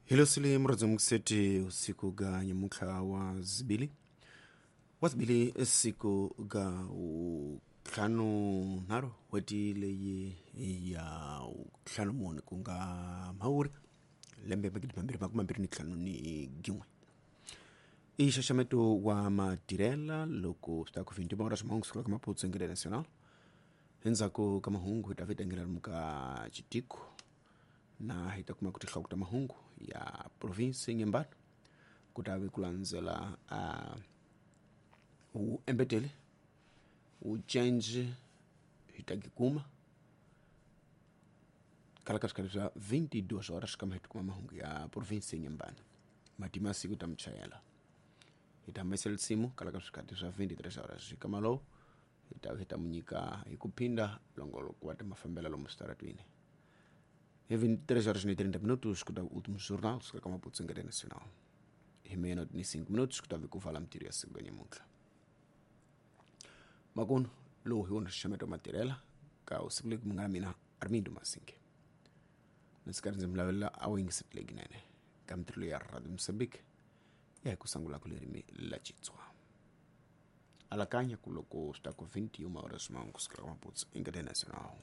Hilo sili mradzi mkuseti usiku ga nyamutlha wa zibili wa zibili siku ga ntlhanu nharhu n'hweti leyi ya ntlhanu mune ku nga mhawuri lembe 2025 ni gin'we. I nxaxameto wa matirhela loko swi ta ku 21 horas mahungu sukela ka Maputo Ngele Nacional. Endzhaku ka mahungu hi ta vita lomu ka Chitiko na hi ta kuma ku tinhloko ta mahungu ya province Nyembani ku ta ve ku landzela wu embetele wu change hi ta kuma kala ka swikarhi swa 22 horas kama hi tikuma mahungu ya province Nyembani matima siku ta muchayela hi ta humesela nsimu kala ka swikhati swa 23 horas kama lowu hi ta hi ta mu nyika hi ku phinda longoloko wa ta mafambelo lomu switaratwini. Em 23 horas e 30 minutos, escuta o último jornal, se calhar Maputo Ngare Nacional. Em meia-noite e 5 minutos, escutava que o Vala Mtiria se ganha muito. Maguno, lowu hi wona xaxameto matirhela ka usiku leyi munghana mina Armindo Masinge. Ndzi karhi ndzi mi lavelela a wu yingiseti leyinene ka mitirho ya Radio Mozambique ya hi ku sungula ku ririmi la Xitsonga. Alakanya ku loko swi ta ku 21 horas mahungu sukela ka Maputo Ngare Nacional.